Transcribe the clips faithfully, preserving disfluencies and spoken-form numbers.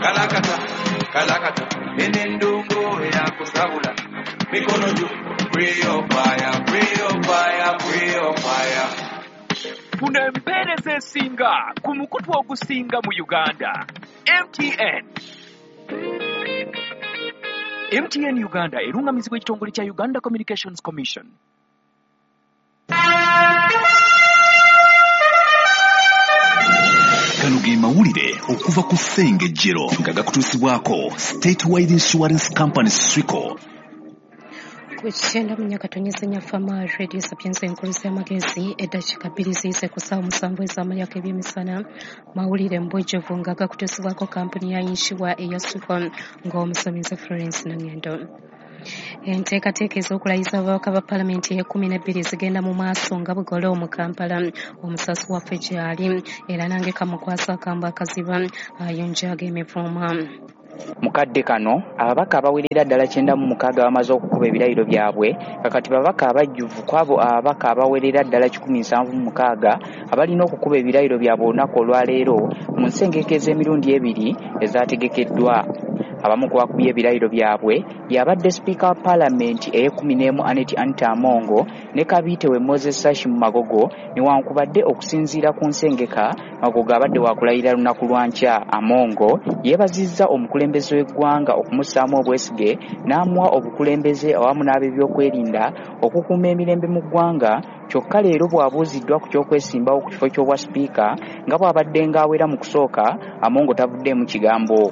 Kalakata, kalakata, enendongo eyakusabula. Mikono juu, free your fire, free your fire, free your fire. Funa empeereza esinga ku mukutu ogusinga mu Uganda. M T N. M T N Uganda erungamizibwa ekitongole kya Uganda Communications Commission. Gano ge mawulire okuva ku Ssengejjero nga gakutuusibwako Statewide Insurance Company Swico. Kukyenda mu myaka tonyeze Fama Radio Sapienza enkulu z'amagezi eddakiika bbiri ziyise ku ssaawa musanvu ez'amalyako ebyemisana. Mawulire mu bujjuvu nga gakutuusibwako kampuni ya yinsuwa eya Swico ng'omusomesa Florence Nangendo. Enteekateeka ez'okulayiza ababaka ba paalamenti ey'ekkumi n'ebbiri zigenda mu maaso nga bugolo mu Kampala. Omusasi waffe gy'ali era nange kamukwasa akambe akaziba ayonjaga emivuuma. Mukadde kano ababaka abawerera ddala kyenda mu mukaaga bamaze okukuba ebirayiro byabwe, kakati babaka abajjuvu kwabo ababaka abawerera ddala kikumi nsanvu mu mukaaga abalina okukuba ebirayiro byabwe olunaku olwaleero mu nsengeka ez'emirundi ebiri ezaategekeddwa. Abamu ku bakubye ebirayiro byabwe y'abadde sipiika wa paalamenti ey'ekkumi n'emu Annet Anita Amongo ne kabiite we Moses Sashi mu Magogo, newankubadde okusinziira ku nsengeka Magogo abadde wakulayira lunaku lwa nkya. Amongo yeebazizza omukulembeze w'eggwanga okumussaamu obwesige n'amuwa obukulembeze awamu n'ab'ebyokwerinda okukuuma emirembe mu ggwanga. Kyokka leero bw'abuuziddwa ku ky'okwesimbawo ku kifo ky'obwa sipiika nga bw'abadde ng'awera mu kusooka, Amongo tavuddeemu kigambo.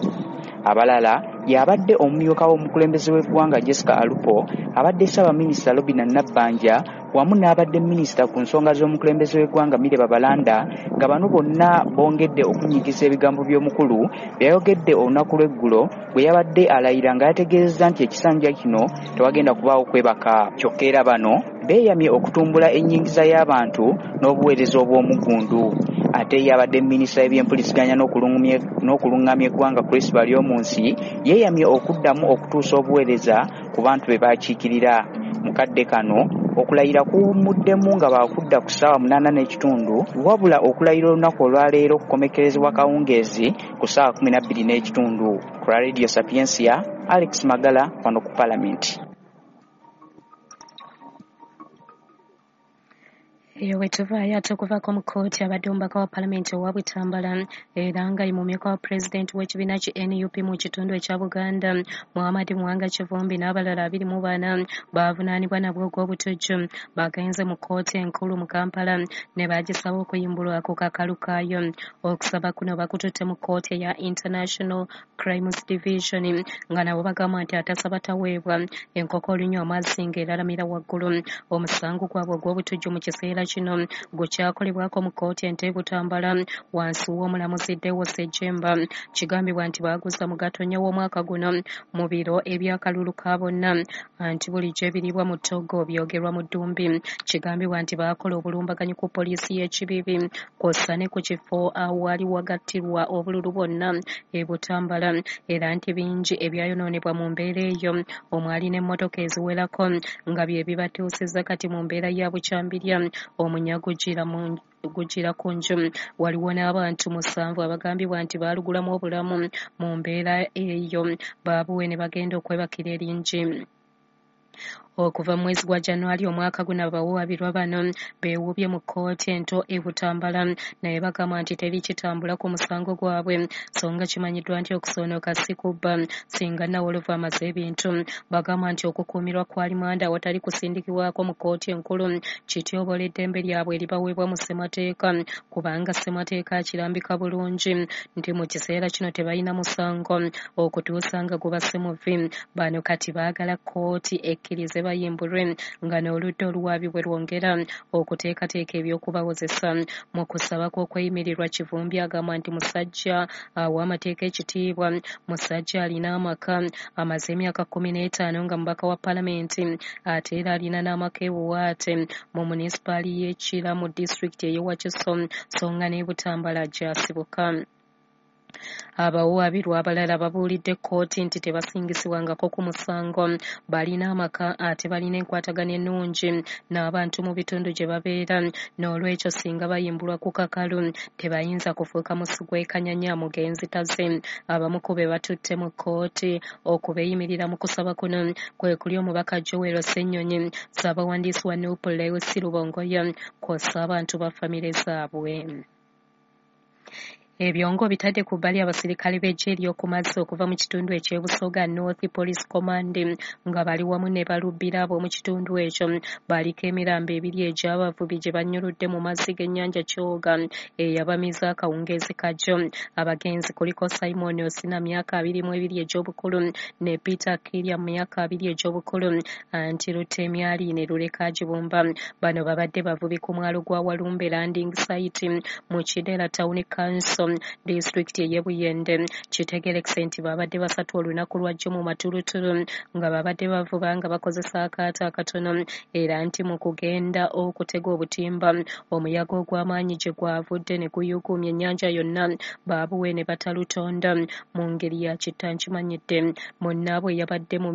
Abalala y'abadde omumyuka w'omukulembeze w'eggwanga Jessica Alupo, abadde ssaabaminisita Robinah Nabbanja wamu n'abadde minisita ku nsonga z'omukulembeze w'eggwanga Milly Babalanda, nga bano bonna bongedde okunyigiza ebigambo by'omukulu byayogedde olunaku lw'eggulo bwe yabadde alayira nga yategeezezza nti ekisanja kino tewagenda kubaawo kwebaka. Kyokka era bano beeyamye okutumbula ennyingiza y'abantu n'obuweereza obw'omuggundu. Ate ye abadde minisita w'ebyempuliziganya n'okulungamya eggwanga Chris Baryomunsi yeeyamye okuddamu okutuusa obuweereza ku bantu be baakiikirira. Mu kadde kano okulayira kuwummuddemu nga baakudda ku ssaawa munaana n'ekitundu, wabula okulayira olunaku olwaleero kukomekkerezebwa kawungeezi ku ssaawa kkumi na bbiri n'ekitundu. Ku Radio Sapientia, Alex Magala wano ku Paalamenti. Eyo bwe tuvaayo ate okuvaako mu kkooti abadde omubaka wa paalamenti owa Butambala era nga ye mumyuka wa pulezidenti w'ekibiina ki N U P mu kitundu ekya Buganda Muhammad Muwanga Kivumbi n'abalala abiri mu bana baavunaanibwa nabwo ogw'obutujju. Bagenze mu kkooti enkulu mu Kampala ne bagisaba okuyimbulwa ku kakalu kaayo. Okusaba kuno bakututte mu kkooti eya International Crimes Division nga nabo bagamba nti atasaba taweebwa enkoko olunywa amazzi ng'eralamira waggulu. Omusango gwabwe ogw'obutujju mu kiseera kino gukyakolebwako mu kkooti ento e Butambala wansi w'omulamuzi Deo Ssejjemba. Kigambibwa nti baaguza mu Gatonnya w'omwaka guno mu biro eby'akalulu ka bonna anti bulijjo ebiriibwa mu Togo byogerwa mu ddumbi. Kigambibwa nti baakola obulumbaganyi ku poliisi y'e Kibibi kw'ossa ne ku kifo awaali wagattirwa obululu bwonna e Butambala, era nti bingi ebyayonoonebwa mu mbeera eyo omwali n'emmotoka eziwerako nga bye bibatuusizza kati mu mbeera ya bukyambirya. Omunyago gugira ku nju. Waliwo n'abantu musanvu abagambibwa nti baalugulamu obulamu mu mbeera eyo baabuwe ne bagenda okwebakira eringi. Okuva mu mwezi gwa January omwaka guno abawawaabirwa bano beewuubye mu kkooti ento e Butambala naye bagamba nti teri kitambula ku musango gwabwe, so nga kimanyiddwa nti okusoonoka si kubba singa Nawolovu amaze ebintu. Bagamba nti okukuumirwa kwa limanda awatali kusindikibwako mu kkooti enkulu kityoboola eddembe lyabwe eribaweebwa mu ssemateeka, kubanga ssemateeka akirambika bulungi nti mu kiseera kino tebalina musango okutuusa nga gubasse muvi. Bano kati baagala kkooti ekkirize bayimbulwe nga n'oludda oluwaabi bwe lwongera okuteekateeka eby'okubawozesa. Mu kusaba kw'okweyimirirwa Kivumbi agamba nti musajja awa amateeka ekitiibwa, musajja alina amaka, amaze emyaka kkumi n'etaano nga mubaka wa paalamenti ate era alina n'amaka e Buwaate mu munisipaali y'e Kira mu disitulikiti ey'e Wakiso so nga n'e Butambala gy'asibuka. Abawawaabirwa abalala babuulidde kkooti nti tebasingisibwangako ku musango, balina amaka ate balina enkwatagana ennungi n'abantu mu bitundu gye babeera, n'olwekyo singa bayimbulwa ku kakalu tebayinza kufuuka musu gw'ekanyanya mugenzi taze. Abamu ku be batutte mu kkooti okubeeyimirira mu kusaba kuno kwe kuli omubaka Joel Ssenyonyi, Ssaabawandiisi wa Nuupu Lewis Lubongoya kw'ossa abantu ba famire zaabwe. Ebyongo bitadde ku bbali abasirikale b'eggye ery'oku mazzi okuva mu kitundu eky'e Busoga North Police Command nga bali wamu ne balubbira ab'omu kitundu ekyo baliko emirambo ebiri egy'abavubi gye bannyuludde mu mazzi g'ennyanja Kyoga eyabamiza akawungeezi kajjo. Abagenzi kuliko Simon Osina myaka abiri mu ebiri egy'obukulu ne Peter Kirya myaka abiri egy'obukulu anti Lutemyali ne Luleka Gibumba. Bano babadde bavubi ku mwalo gwa Walumbe Landing Site mu Kidera Town Council disitulikiti ey'e Buyende. Kitegeerekese nti babadde basatu olunaku lwajjo mu matulutulu nga babadde bavuba nga bakozesa akaato akatono, era nti mu kugenda okutega obutimba omuyaga ogw'amaanyi gye gwavudde ne guyuuguumya ennyanja yonna baabuwe ne batalutonda mu ngeri ya kittankimanyidde. Munnaabwe yabadde mu